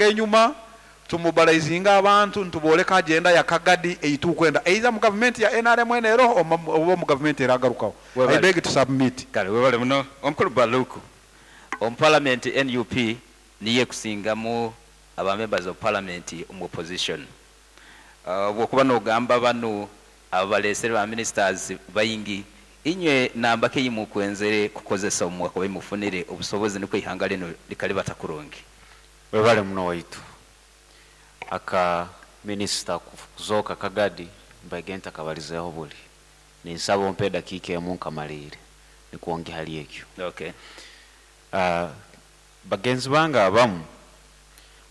Enyuma tumobilizinge abantu nitubooreka agenda ya Kagadi ei turikwenda either omu gavumenti ya nrm enu eriho oba omu gavumenti eragarukaho. I Webale. beg to submit. Kale webale muno Omukulu Baluku. Omu parliament nup niyo ekusingamu aba members of parliament omu opposition. Obwokuba nogamba banu ababalesere ba ministers baingi, inywe namba ki eyimukwenzere kukozesa obumwakubaire mufunire obusobozi nukwo eihanga linu likalibata kurungi? Webale muno waitu. Aka minister kuzooka Kagadi mbaige ntakabalizeeho buli. Ninsaba ompe edakiika emu nkamaliire nikwo ngye hali ekyo. Okay. Bagenzi bange abamu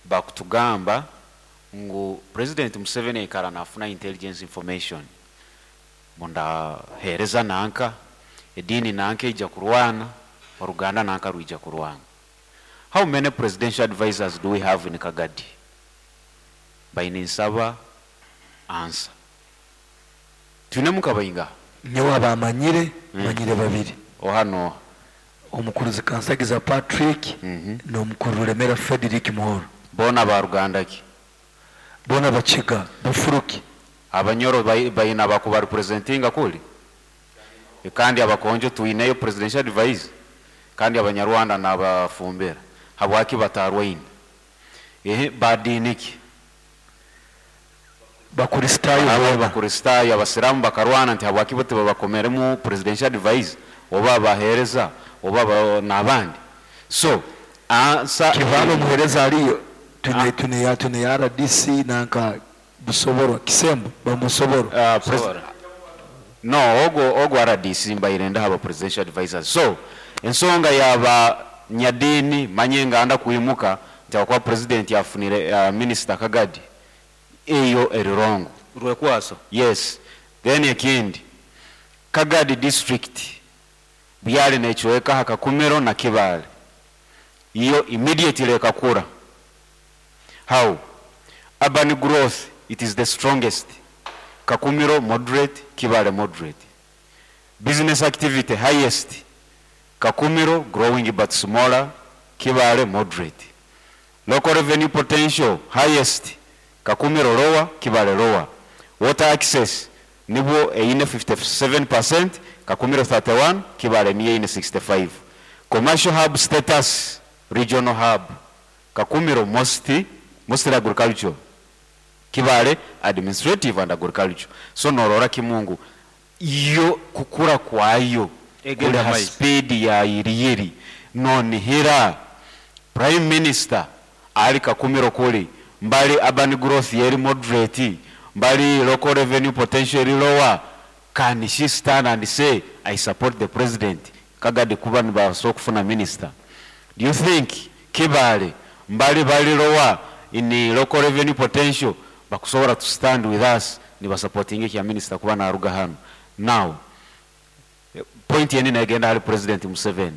bakutugamba ngu President Museveni aikara nafuna intelligence information ngu ndahereza nanka, ediini nanka eija kurwana, oruganda nanka rwija kurwana. How many presidential advisers do we have in Kagadi? Mbaire ninsaba answer. Twinemu nka baingaha? Nyowe abamanyire, manyire babiri. Oha n'oha? Omukuru Zikansagiza Patrick n'omukuru Rulemera Frederick Muhoro. Boona ba ruganda ki? Boona Bakiga, Bafuruki. Abanyoro baine abakubarepresentinga kuri? Kandi Abakonjo twineyo presidential advisor? Kandi Abanyarwanda n'abafumbira habwaki batarwaine? Ehe, ba diini ki? Bakurisitaayo boona. Abakurisitaayo, Abasiraamu bakarwana nti habwaki bo tibabakomeremu presidential advisor oba abaheereza oba n'abandi? So, answer. Kibaale omuheereza ariyo, twine twine ya twine ya rdc nanka Busoborwa, Kisembo bamusoborwa. Busoborwa. No, ogwo ogwo rdc mbaire ndaha ba presidential advisors. So, ensonga ya ba nyadiini manya enganda kwimuka nti ahabw'okuba president afunire minister Kagadi, eyo eri wrong. Rwekwaso. Yes. Then ekindi, Kagadi district byari necweka aha Kakumiro na Kibaale, yo immediately ekakura. How? Urban growth it is the strongest, Kakumiro moderate, Kibaale moderate. Business activity highest, Kakumiro growing but smaller, Kibaale moderate. Local revenue potential highest, Kakumiro lower, Kibaale lower. Water access nibwo eine 57 percent, Kakumiro 31, Kibaale niyo eine 65. Commercial hub status, regional hub, Kakumiro most mostly agricultural, Kibaale administrative and agricultural. So norora kimu ngu yo kukura kwayo kuri Egenda ha maiso. speed ya yiriyiri. Nonihira Prime Minister ari Kakumiro kuri mbali urban growth ye eri moderate, mbali local revenue potential eri lower, can she stand and say I support the president Kagadi kuba nibabaasa okufuna minister? Do you think Kibaale mbali bari lower in local revenue potential bakusobora to stand with us nibasupportinga ekya minister kuba naruga hanu? Now point endi negenda ahari president Museveni.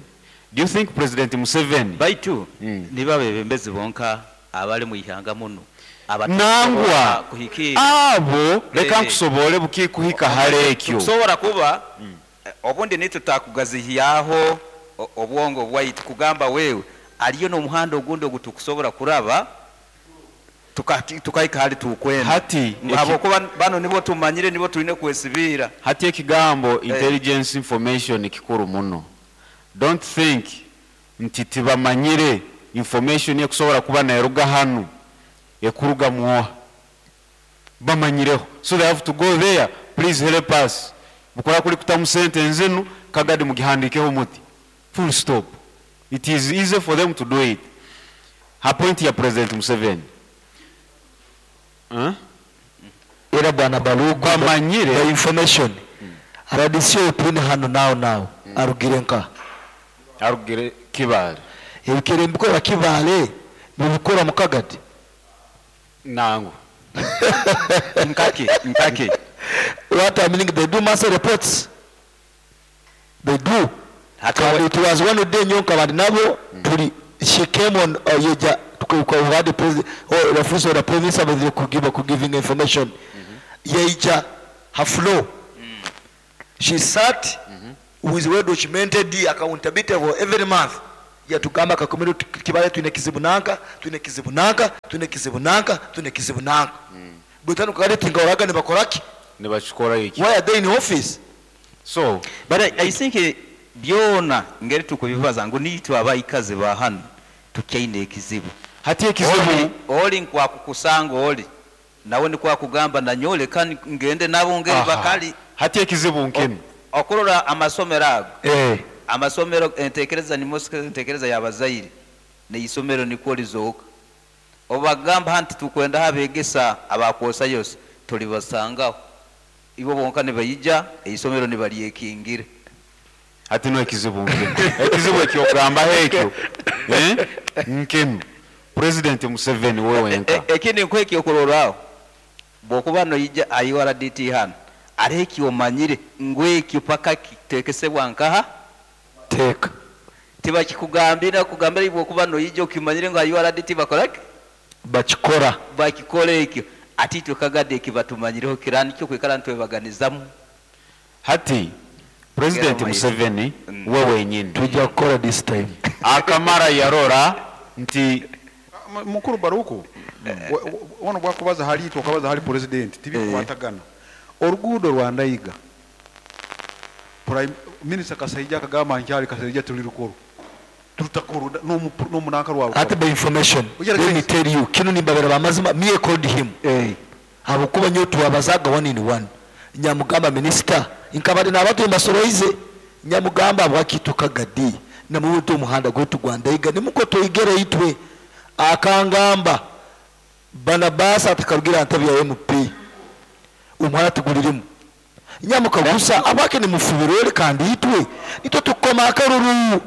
Do you think president Museveni. Baitu nibo abebembezi bonka abali mu ihanga munu abatakusobora Nangwa kuhikiirra. abo leka Eh. nkusoboore bukikuhika hare ekyo. Tukusobora kuba obundi nitwe tutakugazihyaho obwongo bwaitu kugamba wewe aliyo n'omuhanda ogundi ogutukusobora kuraba tukahika hali tukwenda. Hati eki. Habwokuba banu nibo tumanyire nibo twine kwesibiira. Hati ekigambo intelligence information kikuru muno. Don't think nti tibamanyire information ekusobora kuba neruga hanu ekurugamu oha. Bamanyireho so they have to go there please help us bukora kuri kutamu sente nzinu Kagadi mugihandikeho muti full stop it is easy for them to do it. Ha point ya president Museveni huh? Era bwana Baluku Bamanyire. by information rdc ou twine hanu now now arugire nkaha? Arugire Kibaale. Ebikere nibikora Kibaale nibikora mu Kagadi? Nangwa. Nkaki? Nkaki? What I meaning they do monthly reports. They do. Hati Kandi we. it was one day nyowe nkaba ndi nabo turi she came on uh, yeja tukawa the president or the first or the prime minister baizire kugiva ku giving information. Yaija ha floor. She sat with well documented accountability for every month. Yatugamba Kakumiro Kibaale twine ekizibu nanka, twine ekizibu nanka, twine ekizibu nanka, twine ekizibu nanka. Baitu hanu Kagadi tinkahoraga nibakora ki? Nibakikora eki. Why are they in office? So. But I think byona ngeri tukubibaza ngu nitwe abaikazi ba hanu tukyaine ekizibu. Hati ekizibu. Oli, oli nkwakukusanga oli nawe nikwo akugamba nanyowe leka ngende nabo ngeri Aha. bakali. Hati ekizibu nkinu. Okurora amasomero ago, Eh. amasomero entekereza ni entekereza y'abazaire n'eisomero nikwo rizooka. Obu bakugamba hanu titukwendaho abegesa abakwosayosa tulibasangaho. Ibo bonka nibaija eisomero nibalyekingira. Hati nu ekizibu nkinu. Ekizibu ekyokugambaho ekyo eh, nkinu. President Museveni we wenka. Ekindi nkuhe ekyokurorraho, bwokuba noija aha URDT hanu, hariho eki omanyire ngu ekyo paka kitekesebwa nkaha? Teeka. Tibakikugambira, kugambira iwe bwokuba noija okimanyire ngu aha URDT bakora ki? Bakikora. Bakikora ekyo. Ati itwe Kagadi eki batumanyireho kira nikyo kwikara nitwebaganizamu. Hati President Museveni we wenyini. Twija kukora this time. Akamara yarora nti. Mukuru Baruku, wona obwakubaza hali itwe okabaza hali President tibikukwatagana. Oruguudo rwa Ndaiga, Prime Minister Kasaija akagamba nkyali Kasaija tulirukora. Turutakorwa n'omunanka rwawe. Ati by information, let me tell you, kinu nimbabera bamazima, me I called him. Habwokuba nyowe twabazaga one in one. Nyamugamba minister, nkaba nabatuye mbasoroize, nyamugamba habwaki itwe Kagadi namubuta omuhanda gwaitu gwa Ndaiga nimukwo twigere itwe. Akangamba Barnabas atakarugira aha ntebe ya MP omuhanda tiguririmu. Nyamukagusa habwaki nimufubira ori kandi itwe nitwe tukukoma akaruru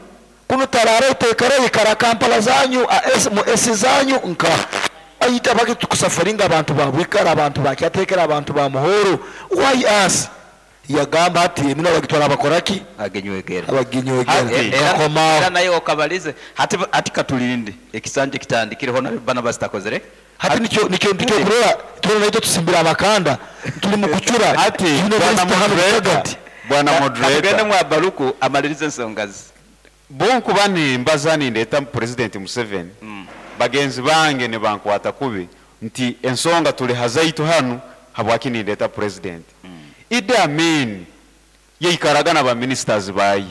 kunu taraara oteekara ikara Kampala zanyu mu AC zanyu nka itwe habwaki tukusafaringa abantu ba Bwikara abantu ba Kyateekera abantu ba Muhoro why us? Yagamba ati eminwa bagitwara bakora ki? Aginywegera. Abaginywegera. Hati. Nkakomaho. Era naye okabalize hati hati katulinde ekisanja kitandikireho na Barnabas takozere. Hati nikyo nikyo nikyo kurora twena naitwe tusimbire abakanda tuli mu kucura Hati twine bwana Kristo hano moderator, Kagadi. bwana Katugende moderator. mwa Baruku amalirize ensonga ze. Bwonkuba nimbaza nindeta President Museveni, bagenzi bange nibankwata kubi nti ensonga tuli hazaitu hanu habwaki nindeta President. Idi Amin yaikaraga na ba ministers baye.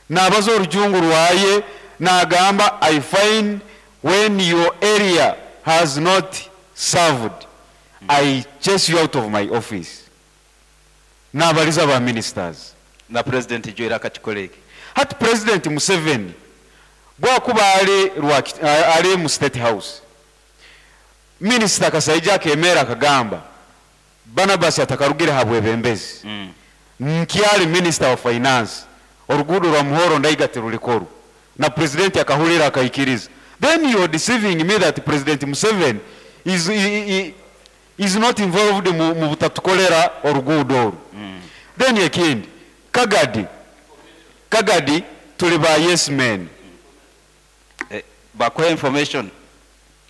Nabaza orujungu rwaye nagamba I find when your area has not served, I chase you out of my office. Nabaliza ba ministers. Na President Joel akakikora eki. Hati President Museveni bwakuba ali ali mu State House, Minister Kasaija akemera akagamba Barnabas atakarugire ha bwebembezi. Nkyali Minister of Finance oruguudo rwa Muhoro Ndaiga tirurikoru na President akahurira akaikiriza. Then you are deceiving me that President Museveni is, is not involved mu butatukolera oruguudo oru. Then ekindi Kagadi, Kagadi tuli ba yes men. Bakuhe information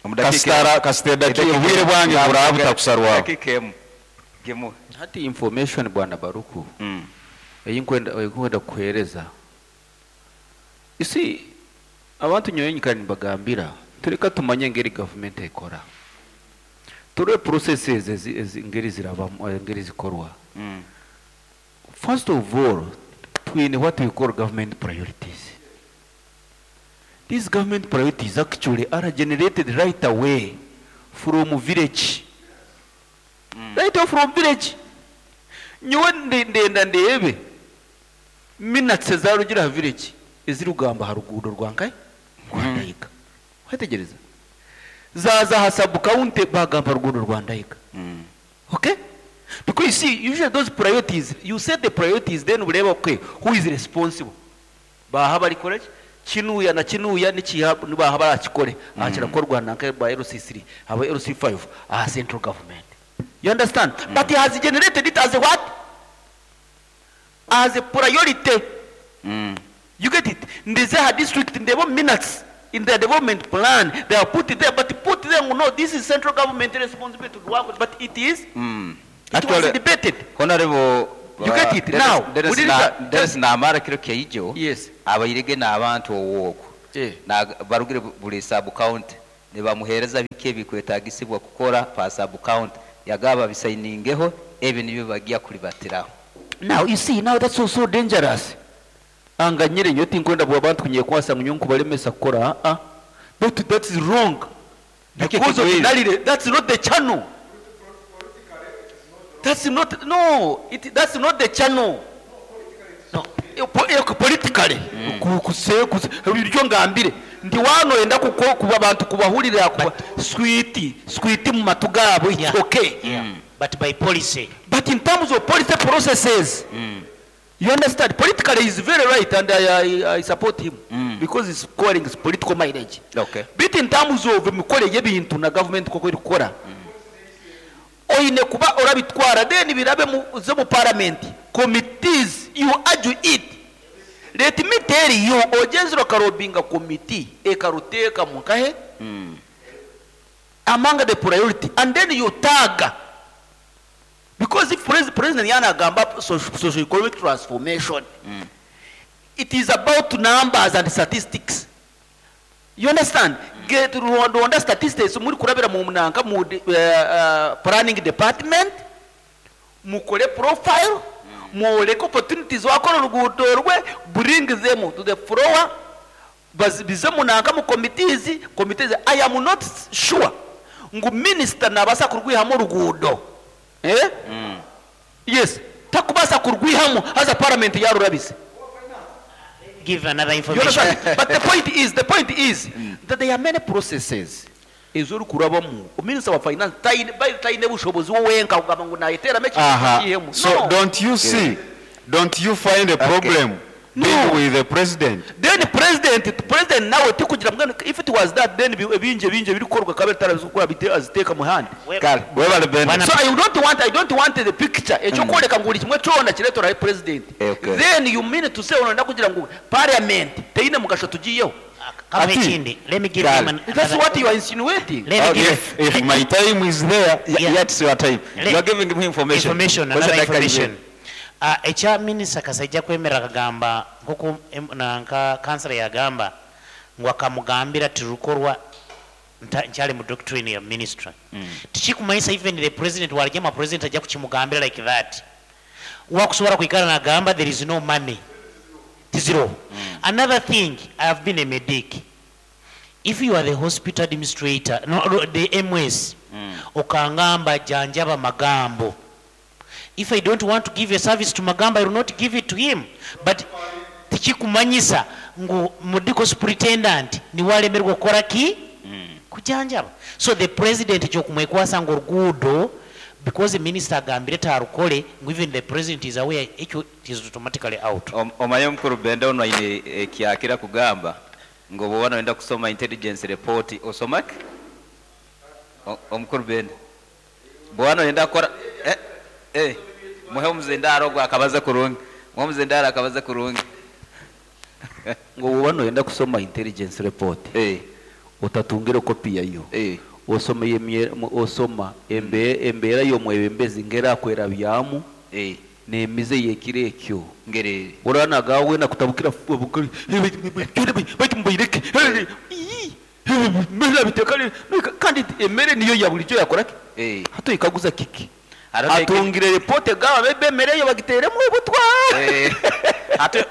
omu dakiika Kasitara emu. kasita edaki Edakika obwire emu. bwange buraba butakusarwaho. Edakika emu. Gimuhe. Hati information bwana Baruku eyinkwenda eyinkwenda kukuhereza. You see abantu nyowe nyikara nibagambira tureka tumanye engeri government ekora. Turebe processes ezi, ezi engeri zirabamu engeri zikorwa. First of all, twine what we call government priorities. These government priorities actually are generated right away from village. Right away from village. Nyowe ndenda ndebe minutes ezarugira ha village ezirugamba ha ruguudo rwa nkai rwa Ndaiga. Wetegereza. Zaza ha sub county bagamba ruguudo rwa Ndaiga. Okay? Because you see, usually those priorities, you set the priorities, then ureba, okay, who is responsible? Baha barikore ki? Kinuya na kinuya nikiha nibaha barakikore. Aha kirakorwa na nka ba LC3, aba LC5, aha central government. You understand? But he has generated it as a what? As a priority. You get it? Ndize ha district ndebo minutes in their development plan, they are put it there, but put them, no, this is central government responsibility to work, but it is, it was Actually, debated. Honorable You get it now? Dennis Huliriza. na- Dennis namara kiro kyaijo Yes. abairege n'abantu owooko Eh. barugire buli sub county nibamuhereza biki ebikwetagisibwa kukora pa sub county yagaba bisainingeho ebi nibyo bagiya kulibatiraho. Now you see, now that's also dangerous. Anga nyire nyo tinkwenda bwa abantu kunyekwasa ngu nkubalemesa kukora, ah ah. But that is wrong. Because Nakyo ordinarily that's not the channel. That's not, no, it, that's not the channel. No. Politically ibyo ngambire ndi wano enda kuko kuba abantu kubahurira kuba sweet sweet mu matu gabo, it's okay. But by policy. But in terms of policy processes, you understand, politically is very right and I support him because he's scoring his political mileage. But in terms of imikorere y'ebintu na government koko iri kukora, oine kuba orabitwara then birabe mu ze mu parliament committees, you argue it. Let me tell you, ogenzire okarobinga committee ekaruteeka mu nkahe among the priority and then you tag, because if president yanagamba socio-economic transformation, it is about numbers and statistics, you understand? Get Rwanda statistics muri kurabira mu munanka mu planning department, mukore profile, muoleke opportunities wakora urugudo rwe, bring them to the floor, bize munanka mu committees. I am not sure ngu minister nabasa kurwihamo urugudo, eh? Yes, takubasa kurwihamo haza parliament yarurabise. Give another You information. understand? But the point is that there are many processes ezori kurabamu. Minister wa finance taine by taine bushobozi wowenka kugamba ngu nayiteramo ekintu kihemu. So No. don't you see, don't you find a problem being No. with the president? Then president nawe tikugira mbwenu, if it was that, then ebinje binje biri kukorwa kabe tarabizi gukora bite aziteka muhandi. Kale, webale Benda. Bwana So I don't want the picture ekyo kwoleka ngu buli kimwe kyona kireetera president. Then you mean to say ononda kugira ngu parliament teine mugasho tugiyeho. Kama Ati. ekindi, let me give Kale. him an, That's another, what you are insinuating. let me give If my time is there, Yeah. Yet it's your time. You are giving him information. Information, What's another the dakika information. ibiri? Ekya minisita Kasaija kwemera akagamba nkoku nanka kansala yagamba ngu akamugambira tirukorwa nkyali mu doctrine ya ministry. Tikikumanyisa even the president walijama president ajja kukimugambira like that. Wakusobola kwikara nagamba there is no money. Tiziro. Another thing, I have been a medic. If you are the hospital administrator, no, no, the MS, okangamba janjaba Magambo. If I don't want to give a service to Magambo, I will not give it to him. But tikikumanyisa ngu medical superintendent ni walemerwa kukola ki? Kujanjaba. So the president kyokumwekwasa ngu oruguudo, because the minister agambire tarukole, ngu even the president is aware, ekyo it is automatically out. Omaye omukuru Benda ono aine ekyakira kugamba ngu oba noyenda kusoma intelligence report osomake? Omukuru Benda bw'oba noyenda kukora, muhe omuzindaro ogwo akabaze kurungi, muhe omuzindaro akabaze kurungi. Ngo bw'oba noyenda kusoma intelligence report, otatungire kopi yayo, osoma osoma embeera y'omwebembezi ngerakwera byamu n'emize yekiro ekyo. Ngeri. Oranaga wena kutabukira baitu mubaireke kandi emere niyo ya bulijjo yakoraki hatu ikaguza kiki atungire report gaba bebe emere yo bagiteremu obutwa. Ate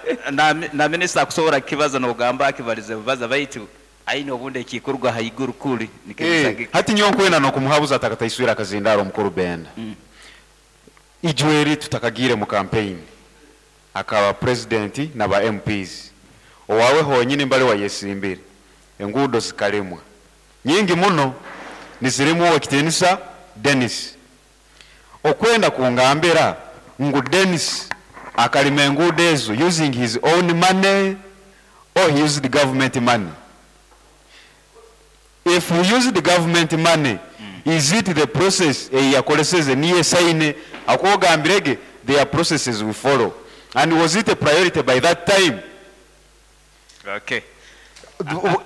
na minisita akusobola kukibaza n'ogamba akibalize bubaza baitu aine obundi ekikorwa haiguru kuri Hati nyowe nkwenda n'okumuhabuza atakataiswira akazindaro omukuru Benda. Ijweri tutakagire mu campaign akaba president na ba MPs owawe honyine mbale wayesimbire enguudo zikalemwa nyingi muno nizirimu owekitinisa Dennis. Okwenda kungambira ngu Dennis akalima enguudo ezo using his own money or he used government money. If he used the government money, is it the process eyakoleseze niye saine akogambirege? There are processes we follow, and was it a priority by that time?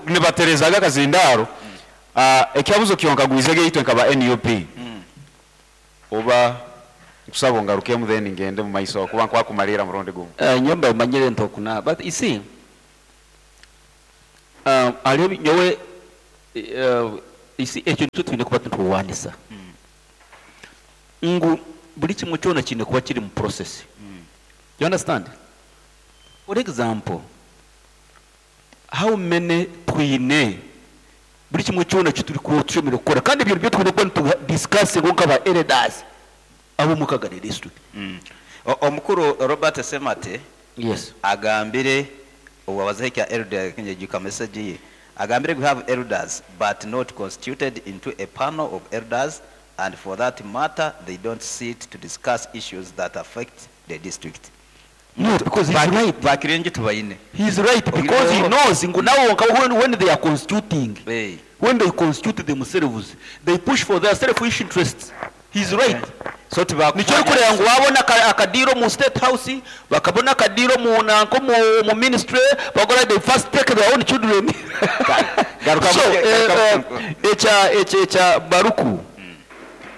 Nibaterezaga akazindaro. Ekyabuzo kyonkagwizege itwe nkaba NUP oba Nkusaba ongarukemu then ngende mu maiso kuba nkwakumaliira murundi gumu. Nyowe mba manyire nti oku na but you see hariho ebi nyowe you see ekyo nikyo twine kuba niturwanisa ngu buri kimwe kyona kiine kuba kiri mu process you understand? For example how many twine buri kimwe kyona eki turikuba tushemereire kukora kandi ebyo nibyo twine kuba nitu discussingaho nk'aba elders ab'omu Kagadi district. Omukuru Robert Ssemate Yes. agambire obu abazaho ekya elder nyijuka message ye agambire we have elders but not constituted into a panel of elders and for that matter they don't sit to discuss issues that affect the district. No, because he's right. Bakire ngi tubaine. He's right because he knows ngu nabo nka when, when they are constituting, Hey. when they constitute themselves, they push for their selfish interests. He's right. So tibakumanya. Nikyo orikureba ngu babona akadiiro omu state house, bakabona akadiiro omu nanka omu omu ministry, bakora they first take their own children. Garuka So, mu- garuka mu- ekya ekya ekya Baruku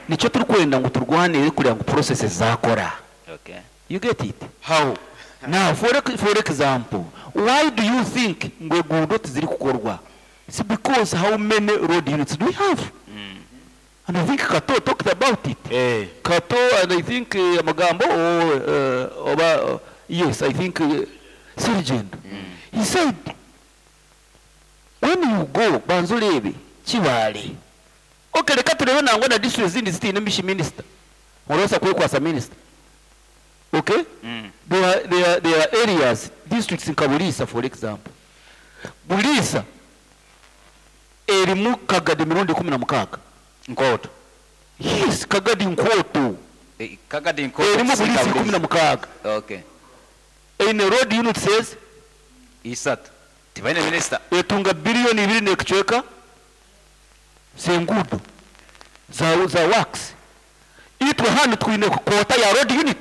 nikyo turikwenda ngu turwanire kureba ngu processes zakora. Okay. You get it? How? Now, for example, why do you think ngu eguudo tiziri kukorwa? It's because how many road units do we have? And I think Kato talked about it. Eh. Kato and I think Amagambo or oba, yes, I think Sergeant. He said, when you go, banza oreebe, Kibaale. Okay, reka turebe nangwa na district ezindi zitiine mishi minister. Orabaasa kwekwasa minister. Okay? There are areas, districts nka Buliisa, for example. Buliisa erimu Kagadi emirundi 16. Nkooto. Yes, Kagadi Nkooto. Kagadi Nkooto. Erimu Kusinga Buliisa ikumi na mukaaga. Okay. Eine road unit says Isatu. Tibaine minister. Etunga biliyoni ibiri n'ekicweka z'enguudo za works. Itwe hanu twine quota ya road unit.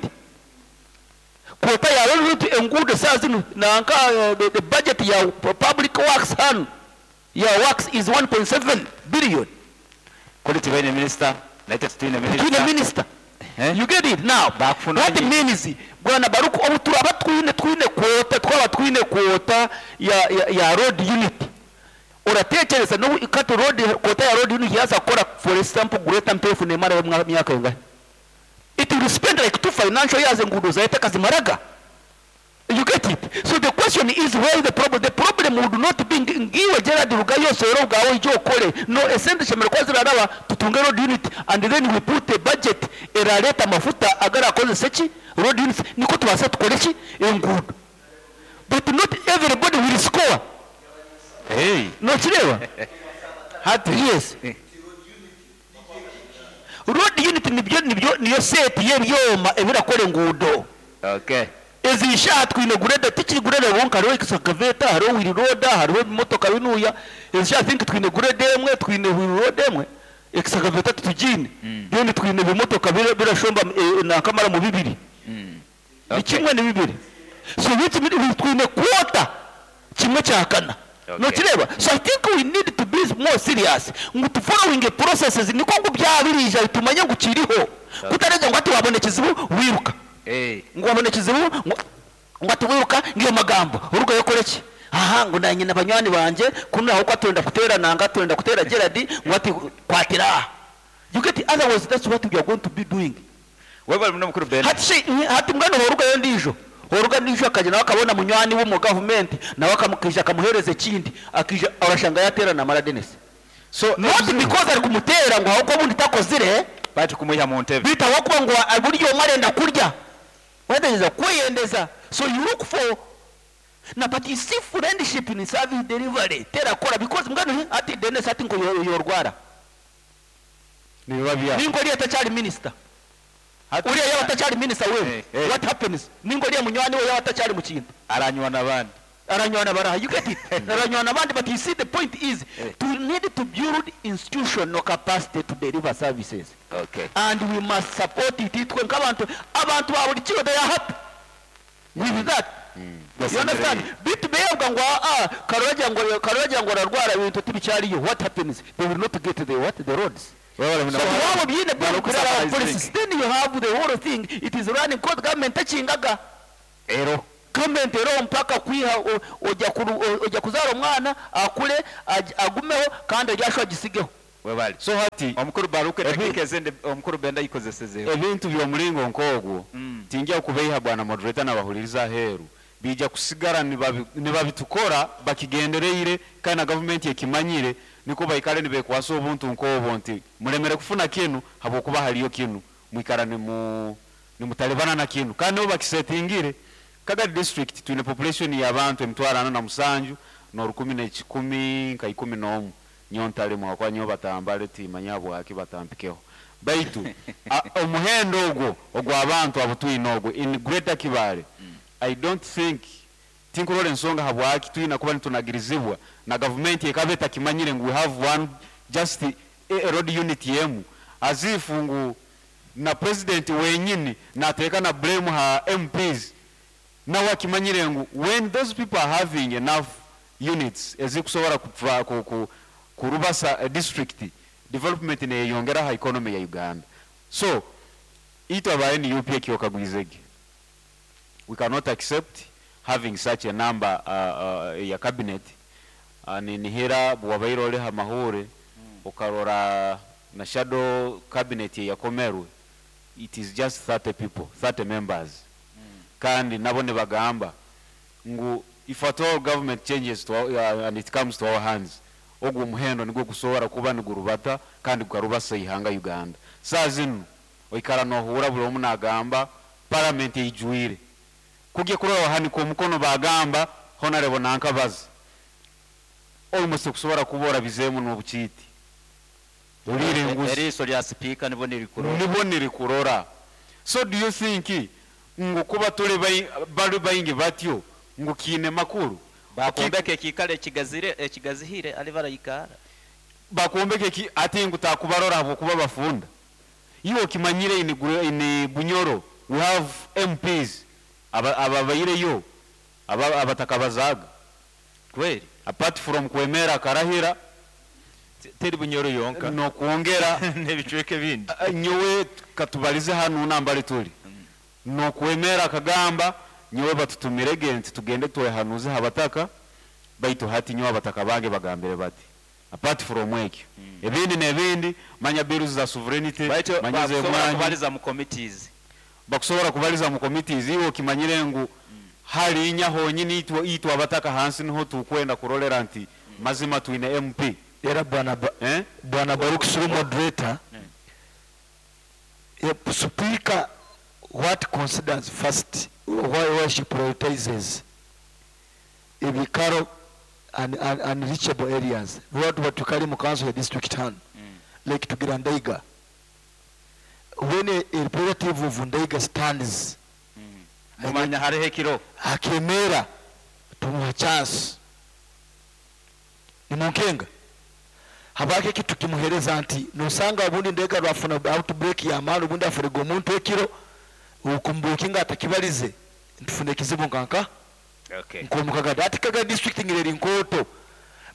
Quota ya road unit enguudo saa zinu nanka the budget ya public works hanu ya works is 1.7 billion. Kuri tibaine minister, naitwe titwine minister. Twine minister. You get it now. Bakufuna What nyi. means Bwana Baruku obu turaba twine quota, twaba twine quota ya road unit. Uratekereza no ikato road quota ya road unit yaza kora for example Greater Mpefu ne mara myaka ingahe? It will spend like 2 financial years ngudo zaita kazimaraga. You get it? So the question is where is the problem? The problem would not be ngiwe Gerald Rugayo sero gawo ijo okole. No esente shemere kwa ziraraba tutunge road unit and then we put a budget eraleta mafuta agara akoze seki road unit niko tubasa tukore ki engudo. But not everybody will score. Hey. No kireba? Hati. Yes. Road unit nibyo niyo set y'ebyoma ebirakora engudo. Okay. Ezi shaha twine grade tikiri grade wonka hariho excavator hariho wheel loader hariho emotoka binuya. Ezi shaha think twine grade emwe twine wheel loader emwe excavator tutugine. Then twine bimotoka birashomba nakamara mu bibiri. Ni kimwe ni bibiri. So which means twine quota kimwe cya kana. Okay. No kireba. So I think we need to be more serious. Ngo to following the processes niko ngo byabirija bitumanye ngo kiriho. Kutarega ngo ati wabone kizibu wiruka. Ngo wabone kizibu ngo ati wiruka ngiyo magambo. Urugo yokore ki? Aha ngo nanye na banywani banje kuno aho kwatenda kutera nanga twenda kutera Gerard ngo ati kwatira. You get it? Otherwise that's what we are going to be doing. Wewe muno mukuru Ben. Hati she, hati mwana horuga yo ndijo. Horuga ndijo akaje nawe akabona munywani wo mu government nawe akamukija akamuhereza ikindi akija arashanga yatera na Mara Dennis. So not because ari kumutera ngo ahubwo bundi takozire bati kumuha mu ntebe. Bita wakuba ngo buryo marenda kurya. Wendeza kwiyendeza. So you look for na but you see friendship in service delivery tera kora because mwana ati Dennis ati ngo yorwara. Ni babya. Ningo ri atachari minister. Hati Uriya yaba atachari minister wewe. Hey. What happens? Ningo ri munywani we yaba atachari mu kintu. Aranywa nabandi. Aranywa nabara. You get it? Aranywa nabandi, but you see the point is to need to build institutional capacity to deliver services. Okay. And we must support it. Itwe nkabantu abantu ba buri kiro they are happy with that. You understand? Bitu beyabwa ngo karoja ngo karoja ngo ararwara ibintu tibicyariyo. What happens? They will not get the what? The roads. Webale So muno. waba obyine Baruku byo our summarizing. policies, then you have the whole thing, it is running code, government tekingaga. Ero. Government era mpaka kwiha ojya ojya kuzara omwana akule agumeho kandi aryasho agisigeho. Webale. So hati Omukuru Baruku edakika ezindi omukuru Benda yikozesezeho. Ebintu by'omulingo nk'ogwo tinjya kubeiha bwana moderator n'abahuliriza aheeru bija kusigara nibabitukora bakigendereire kandi na gavumenti ekimanyire niko baikale nibekwasa obuntu nk'obwo nti mulemere kufuna kinu habwokuba haliyo kinu mwikara nimutalibana na kinu kandi nibo bakisetingire. Kagadi district twine population y'abantu 47 n'orukumi n'ekikumi nka ikumi n'omu nyontale mwakwa nyo batambale timanya bwaki batampikeho baitu omuhendo ogwo ogw'abantu abo twine ogwo in Greater Kibale. I don't think tinkurora ensonga habwaki twina kuba nitunagirizibwa na gavumenti ekaba etakimanyire ngu we have one just a road unit yemu as if ngu na president wenyini nateeka na blame ha MPs nawe akimanyire ngu when those people are having enough units ezikusobora kurubasa a district development neyongera ha economy ya Uganda. So itwe aba NUP ekyokagwizege we cannot accept having such a number ya cabinet. Ninihira bwabaire ole ha mahure ukarora na shadow cabinet yakomerwe it is just 30 people, 30 members. Kandi nabo nibagamba ngu if at all government changes to our, and it comes to our hands ogwo muhendo nigwo gusobora kuba nigurubata kandi gukarubasa ihanga Uganda. Saa zinu oikara nohura buli omu nagamba parliament eijwire kugye kurora wahanika omukono bagamba honorable nankabaza almost kusobora kubora bizemu n'obukiiti olire enguzi Eriiso lya speaker nibo nirikurora. Nibo nirikurora. So do you think ngu kuba tuli bali baingi batyo ngu kiine makuru? Bakombeke ekikale ekigazihire ali barayikara. Bakombeke ki ati ngu takubarora habwokuba bafunda. Iwe okimanyire in Bunyoro we have MPs ababaireyo abatakabazaga. Kweli. Apart from kwemera karahira teri Bunyoro yonka no kuongera n'ebicweka ebindi. Nyowe katubalize hano nambali tuli. No kwemera kagamba nyowe batutumirege nti tugende twehanuze habataka baitu hati nyowe abataka bange bagambire bati apart from ekyo ebindi n'ebindi manya bills za sovereignty Baitu manya bakusobora zemwanyi. kubaliza mu committees. Bakusobora kubaliza mu committees iwe okimanyire ngu hali nya honyini itwe abataka hansi niho tukwenda kurolera nti mazima twine MP. Era bwana Bwana Baruch Sulu moderator. Speaker what considers first why she prioritizes ebikaro and unreachable areas. What batukali mu council ya district town. Like tugira Ndaiga. When a representative of Ndaiga stands, Mumanya hariho ekiro. Akemera tumuha chance. Ni munkenga. Habake kitu kimuhereza nti nosanga obundi Ndaiga rwafuna outbreak ya mali obundi afuriga omuntu ekiro ukumbukinga atakibalize ntufune kizibu nkanka. Nkomukaga ati kaga district ngireri nkoto.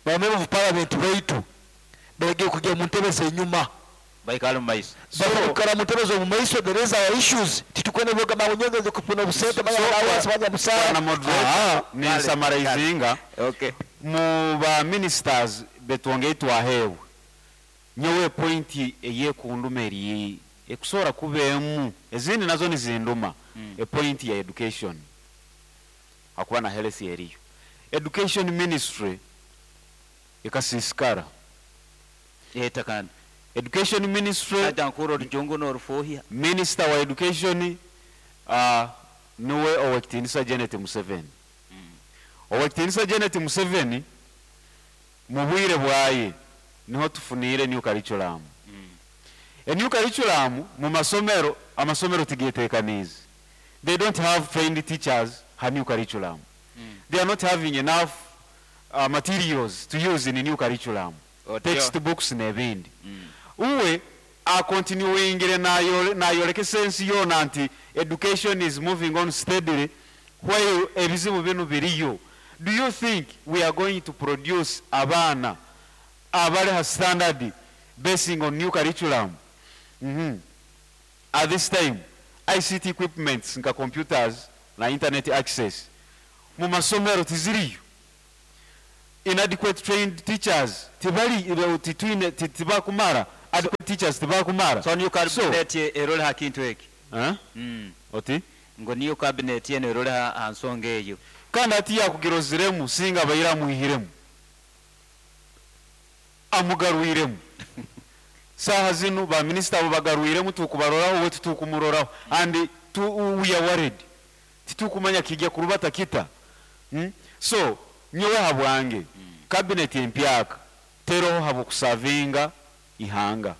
Ba member of parliament baitu bege kujya mu ntebe zenyuma baikala mu maiso. Baikala mu ntebe zo mu maiso, there is our issues. Titukwene boga mawunyonge kupuna busente banya bawa banya musara. Bwana moderator, ni summarizinga. Mu ba ministers betwongeye twahewe. Nyowe point eye kundumeri ekusobola kubeemu ezindi nazo nizinduma. A point ya education akuba na health eriyo. Education ministry ekasisikara. Yeta kandi. Education ministry Aja nkuru rujungu n'orufuhia. Minister wa education niwe Owekitinisa Janet Museveni. Owekitinisa Janet Museveni mu bwire bwaye niho tufunire new curriculum. A new curriculum mu masomero, amasomero tigetekanize. They don't have trained teachers ha new curriculum. They are not having enough materials to use in the new curriculum. Textbooks n'ebindi. Uwe a continuing nayoleke sense yona nti education is moving on steadily while ebizibu bino biriyo. Do you think we are going to produce abaana abali ha standard basing on new curriculum. At this time, ICT equipments nka computers na internet access mu masomero tiziriyo. Inadequate trained teachers tibari titwine tibakumara adequate teachers tibakumara. So new So, cabinet erole ha kintu eki. Eh? Oti? Ngo niyo cabinet eno erole ha nsonga eyo. Kandi ati yakugiroziremu singa baira muhiremu. Amugarwiremu. Saha zinu ba minister abo bagarwiremu tukubaroraho we tutukumuroraho and we are worried. Titukumanya kijya kurubata kita. So nyowe habwange cabinet empyaka teroho habo kusavinga ihanga.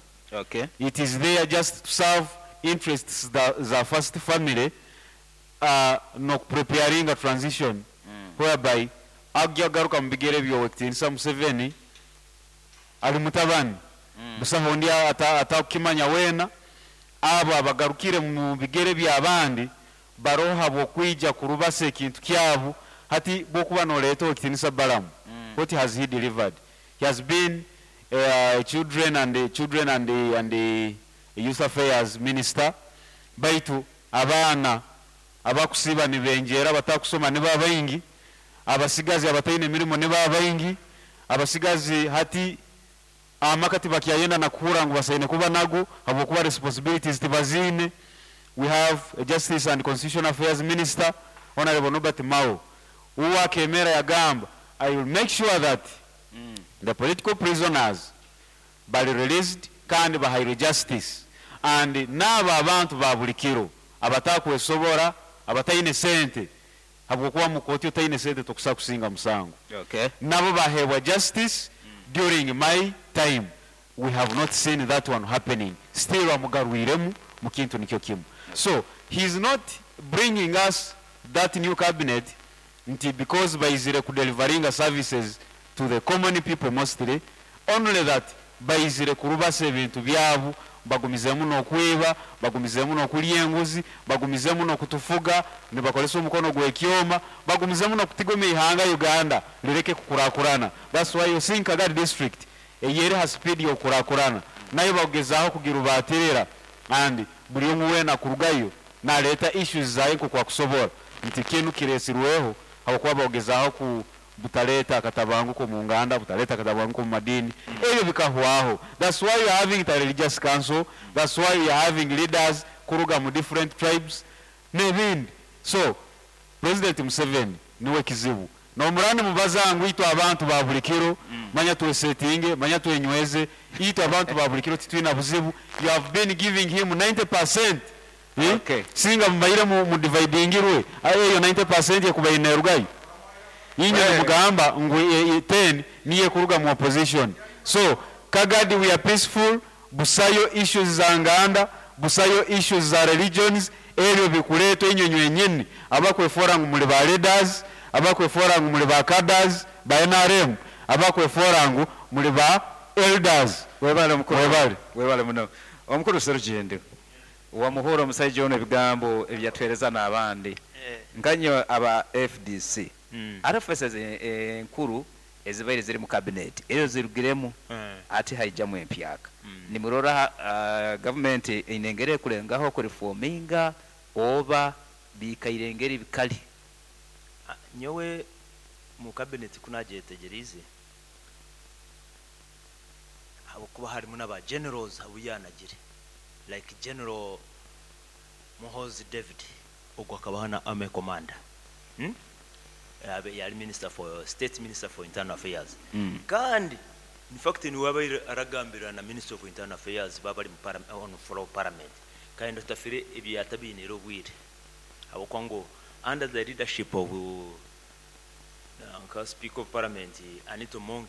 It is there just to serve interests za first family, no preparing a transition whereby ajya garuka mu bigere byowe kitinisa Museveni ali mutabani. Busaho ndi atakimanya wena abo abagarukire mu bigere by'abandi baroha bokwija kurubasa ekintu kyabo hati bokuba noleeta okitinisa Balamu. What has he delivered? He has been children and the children and the, and the youth affairs minister. Baitu abaana abakusiba nibenjera batakusoma ni babaingi, abasigazi abataine emirimo ni babaingi, abasigazi hati amakati bakyayenda na kuhura ngu basaine kuba nago habwokuba responsibilities tibazine. We have a Justice and Constitutional Affairs Minister, Honorable Norbert Mao, uwakemera yagamba, I will make sure that the political prisoners bali released kandi bahairwe justice, and n'abo abantu ba buli kiro abatakwesobora abataine sente habwokuba mu kooti otaine sente tokusa kusinga musango. Nabo bahebwa justice during my time. We have not seen that one happening. Still amugarwiremu mu kintu nikyo kimu. So he is not bringing us that new cabinet nti because baizire ku delivering services to the common people mostly, only that baizire kurubasa ebintu byabo, bagumizemu n'okwiba, bagumizemu n'okulya enguzi, bagumizemu n'okutufuga, nibakolesa omukono gw'ekyoma, bagumizemu n'okutigoma ihanga Uganda lireke kukurakurana. That's why you think Kagadi district eyeri ha speed y'okurakurana, nayo bagezaho kugirubatirira, and buli omwe weena kurugayo naleeta issues zaye nk'oku akusobola nti kinu kiresirweho habwokuba bagezaho ku butaleta akatabanguko mu nganda, butaleta akatabanguko mu madini, ebyo bikahwaho. That's why you are having the religious council, that's why you are having leaders kuruga mu different tribes n'ebindi. So President Museveni niwe kizibu. Nomurani mubazangu itwa abantu ba buli kiro, manya twesetinge, manya twenyweze, itwa abantu ba buli kiro titwina buzibu. You have been giving him 90%. Singa mubaire mu dividingirwe, ayo eyo 90% yekubaine rugayo. Inyo mugamba ngu 10 niye kuruga mu opposition. So Kagadi we are peaceful, busayo issues za nganda, busayo issues za religions, ebyo bikuleetwa inyo nywenyini abakwefora ngu muli ba leaders, abakwefora ngu muli ba cadres ba NRM, abakwefora ngu muli ba elders. Webale mukuru. Webale. Webale muno. Omukuru Serugendo wamuhura omusajja ono ebigambo ebyatwereza n'abandi. Nkanyo aba FDC. RFS enkuru ezibaire ziri mu cabinet ezo zirugiremu ati haijamu empyaka. Nimurora government inengere kulengaho kureforminga oba bikairengeri bikali. Nyowe mu cabinet kunajetegerize habo kuba harimo n'aba generals abuyanagire like General Muhoozi David ogwo akaba na army commander. Abe yali minister for state minister for internal affairs. Kandi in fact ni wabaire aragambira na minister of internal affairs babali mu on floor of parliament. Kandi tafire ebyatabinira obwire. Abo kwango under the leadership of speaker of parliament Anita Among,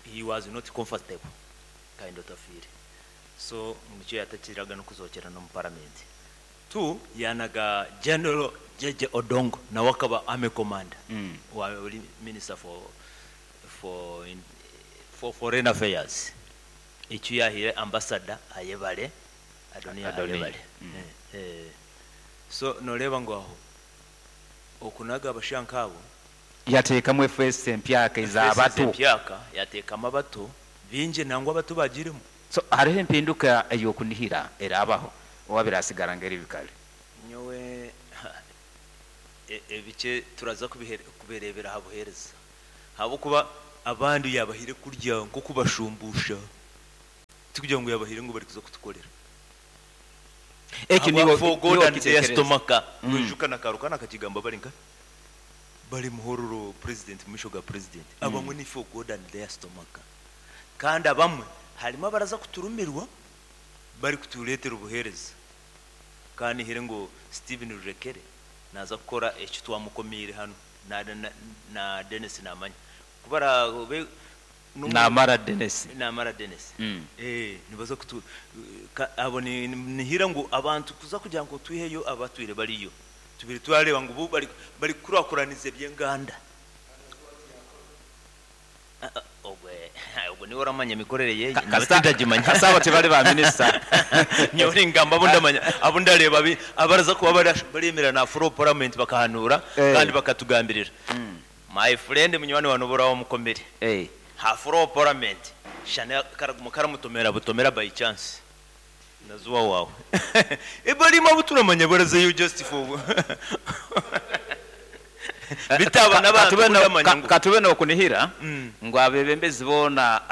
he was not comfortable kind of tafire. So mucyo yatakiraga no kuzokera no mu parliament. Two yanaga General Jeje Odongo na wakaba army commander. Wa minister for foreign affairs. Icyo yahire ambassador Ayebare Adonia Ayebare. So noreba ngo aho okunaga abashankabo yateekamu FS empyaka ez'abato. Empyaka yateekamu abato Baingi nangwa abato bagiiremu. So hariho empinduka ey'okunihira eraabaho oba birasigara ng'eri bikare? Nyowe ebikye turaza kubireebera aha buheereza ahabw'okuba abandi yaabahaire kurya nk'okubashumbuusha tikugira ngu yaabahaire ngu barikuza kutukorera. Eki Ahabwa niiwe for God niiwe and their okiteekereza. stomach. Noijuka na Karuka akakigamba bari nkahi? Bari Muhororo president mu maisho ga president. Abamwe ni for God and their stomach. Kandi abamwe harimu abaraza kuturumirwa bari kutureetera obuheereza. Ka nihire ngu Steven Rurekere naaza kukora eki twamukomiire hanu na, na, na Denis naamanya. Ku baraabe n'omu- Namara Denis. Namara Denis. Eh, nibaza kutu ka, abo ni, nihira ngu abantu kuza kugira ngu twiheyo abatwire bariyo. Tubire twareeba ngu bo bari, bari kukurakuraniza eby'enganda. Ah, ah, Ogwe, ogwe niwe oramanya emikorere ye. Ka- Nyowe kasita tindagimanya. kasita abo tibari ba minisita. Nyowe ningamba abu ndamanya, abu ndareeba abi- abaraza kuba bara- baremera na floor parliament bakahanura kandi bakatugambirira. My friend munywani wa nobora wamukomere. Ha floor parliament shana karaguma karamutomera butomera by chance. Nazuwa wawe. Ebarimo abuturamanya barazayo just for bitaba n'abantu Katube no- kundamanya ngu katube nokunihira ngu abebembezi boona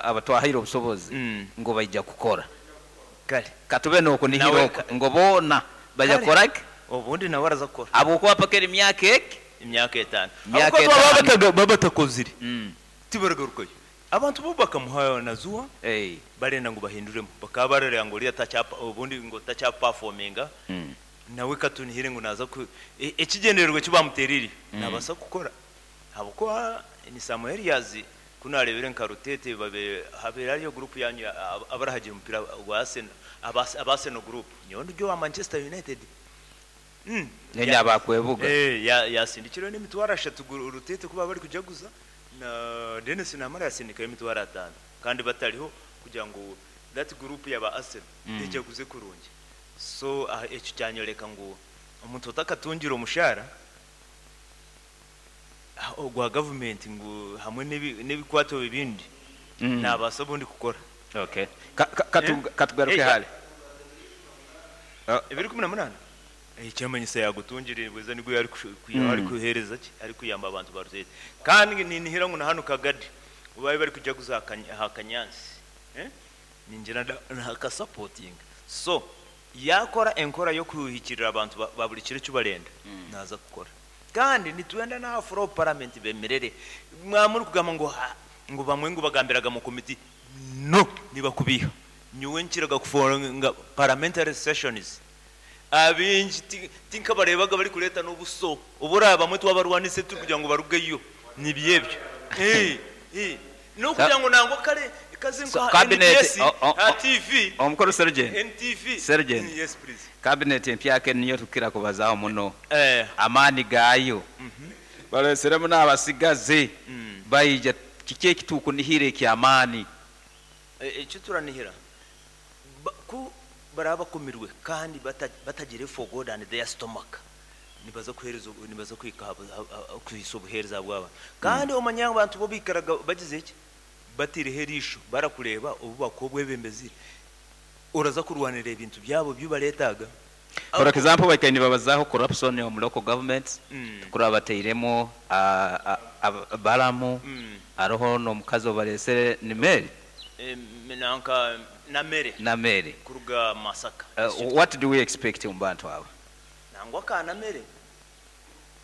abatwahaire obusobozi ngu baija kukora. Kare. Katube nokunihira Nawe okwo ngu boona baija Kare. kukora ki? Obundi nawe araza kukora. Habwokuba paka eri myaka eki? Emyaka etaano. Myaka Habwokuba baba etaano. baba batakozire. Tibaragarukayo. Abantu bo bakamuha nazuwa barenda ngu bahinduremu. Bakaba barareba ngu oriya takyapa obundi ngu takyaperforminga. Nawe katunihire ngu naza ku ekigyendererwa eki bamuterire nabasa kukora. Habwokuba ni some areas ku narebire nka Rutete babe habere hariyo group yanyu abarahagira omupira gwa Arsenal, aba Arsenal group. Nyowe ndi owa Manchester United. Nenya abakwebuga. Yasindikire n'emitwaro 3 Rutete kuba bari kujaguza na Dennis Namara yasindikayo emitwaro 5 kandi batariho kugira ngu that group yaba Arsenal ejaguze kurungi. So ekyo kyanyoreka ngu omuntu otakatungira omushara ogwa government ngu hamwe n'ebikwato ebindi nabaasa obundi kukora. Okay. Katugaruke hali. Ebiri 18? Ekyamanyisa yagutungire bweza nigwe yari ari kuhereza ki? Ari kuyamba abantu ba Rutete. Kandi ninihira ngu na hano Kagadi ubaye bari kujaguza hakanyansi. Ningira nakasupporting. So yakora enkora yo kuhikirira abantu ba buri kiro cyubarenda naza kukora. Kandi nitwenda na Afro parliament bemerere. Mwamuri kugamba ngo ngo bamwe ngo bagambiraga mu committee. No, nibakubiha. Nyowe nkiraga kufora nga parliamentary sessions. Abingi tinkabarebaga bari kuleta n'obuso. Obura bamwe twabarwanise turi kugira ngo barugeyo. Ni byebyo. No kugira ngo nango kare kazi So, nka cabinet, NBS, ha TV. Omukuru Sergeant. NTV. Sergeant. Yes, please. Cabinet empya ke niyo tukira kubazaho muno. Amaani gayo. Baleseremu n'abasigazi. Baija kiki ekitukunihira ekyamaani? Ekyo turanihira. Ku baraba bakumirwe kandi batagire for God and their stomach. Nibaza kuhereza nibaza kwika kwisa obuhereza bwaba. Kandi omanya abantu bo bikaraga bagize iki? Batireho erisho barakureba obu bakobwe bembezire. Uraza kurwanira ebintu byabo byubaretaga. For example, bakaini babazaho corruption mu local governments. Kuri abateiremo baramu aroho n'omukazi obaresere ni Mary. Nanka na Mary. Na Mary. Kuruga Masaka. What do we expect mu bantu abo? Nangwa ka na Mary.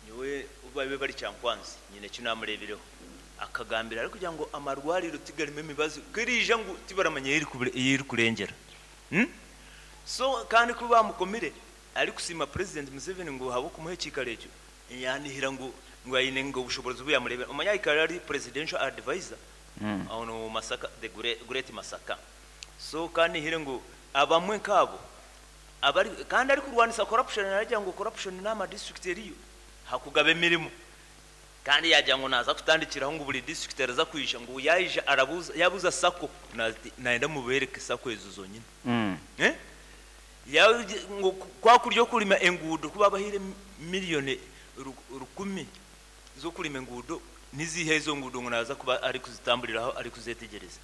Niwe ubabe bari cyankwanzi nyine cyo namurebireho. Akagambira ari kugira ngo amarwariro tigarime imibazo kirija ngo tibaramanye yiri kurengera. So kandi kuba bamukomire ari kusima President Museveni ngo habo kumuhe kikare ekyo. Yanihira ngo ayine ngo ubushobozi buyamurebera. Omanya ikare ari presidential advisor. Ono Masaka, the great Masaka. So kandi hire ngo abamwe nkabo abari kandi ari kurwanisa corruption aragira ngo corruption nama district eriyo hakugabe mirimo. Kandi yagira ngo naza kutandikiraho ngo buri district araza kwisha ngo yayije arabuza yabuza sako naenda mubereke sako ezo zonyine. Ya ngo kwa kuryo kulima engudo kuba bahire miliyoni 10 zo kulima engudo Niziiha ezo nguudo ngu naaza kuba arikuzitamburiraho arikuzeetegyereza?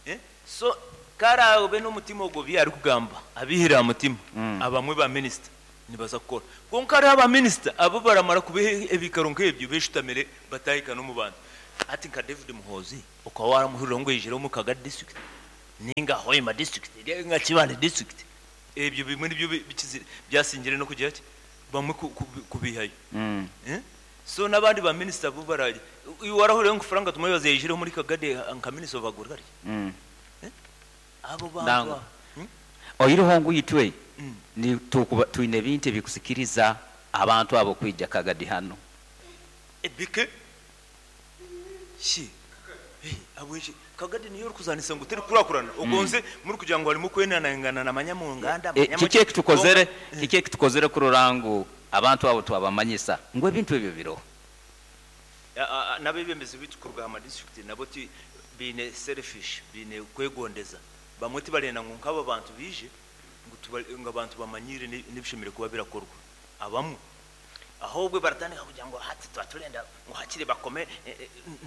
Eh? So ku araabe n'omutima ogwo bi arikugamba abiihire aha mutima, abamwe ba minisita nibaza kukora. Kwonka hariho aba minisita abu baramara kubaha ebiikaro nk'ebyo beeshutamire bataahika n'omu bantu. Hati nka David Muhoozi okaba waaramuhurira ngu aijire omu Kagadi district nainga Hoima district nainga Kibale district? Ebyo bimwe nibyo bikizire byasingire n'okugira ki? Bamwe kubiihayo. So n'abandi ba minisita bo baraaje. Iwe warahurireho ngu Frank Tumwebaze yaijire omuri Kagadi nka minisita of agriculture? Abo bantu Nangwa. abo. Oihireho ngu itwe nitukuba twine ebintu ebikusikiriza abantu abo kwija Kagadi hanu. Ebike shi Habweki Kagadi niyo orikuzanisa ngu terikukurakurana ogonze murikugira ngu harimu okwenanangana na manya mu nganda manya Kiki muki ekitukozere kwonka. Kiki ekitukozere kurora ngu abantu abo twabamanyisa ngu ebintu ebyo biroho? N'abebembezi baitu kuruga aha madisiturikiti nabo ti baine selfish baine kwegondeza bamwe tibarenda ngu nk'aba bantu baije ngu ngu abantu bamanyiire n'ebishemereire kuba birakorwa abamwe. Ahobwe baratandika kugira ngu hati tuba turenda ngu hakiri bakome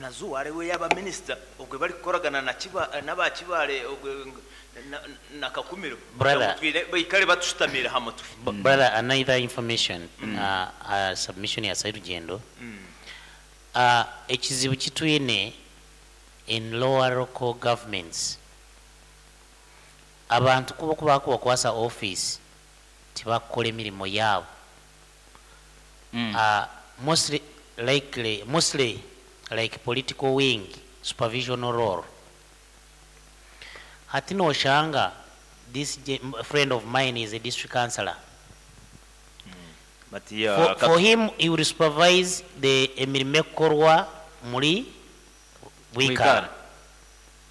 na Zuware we yaba minisita obwe barikukoragana na n'aba Kibaale obwe na Kakumiro kugira ngu Brother. twine baikare batushutamiire aha mutwe. Brother, another information, submission ya Sairugyendo, ekizibu kitwine in lower local governments, abantu kuba okubakubakwasa office tibakukora emirimo yaabo. Mostly likely, mostly like political wing supervisional role. Hati noshanga this friend of mine is a district councillor. Matiya For him, he will supervise the emirimo ekukorwa muri Bwikara. Bwikara.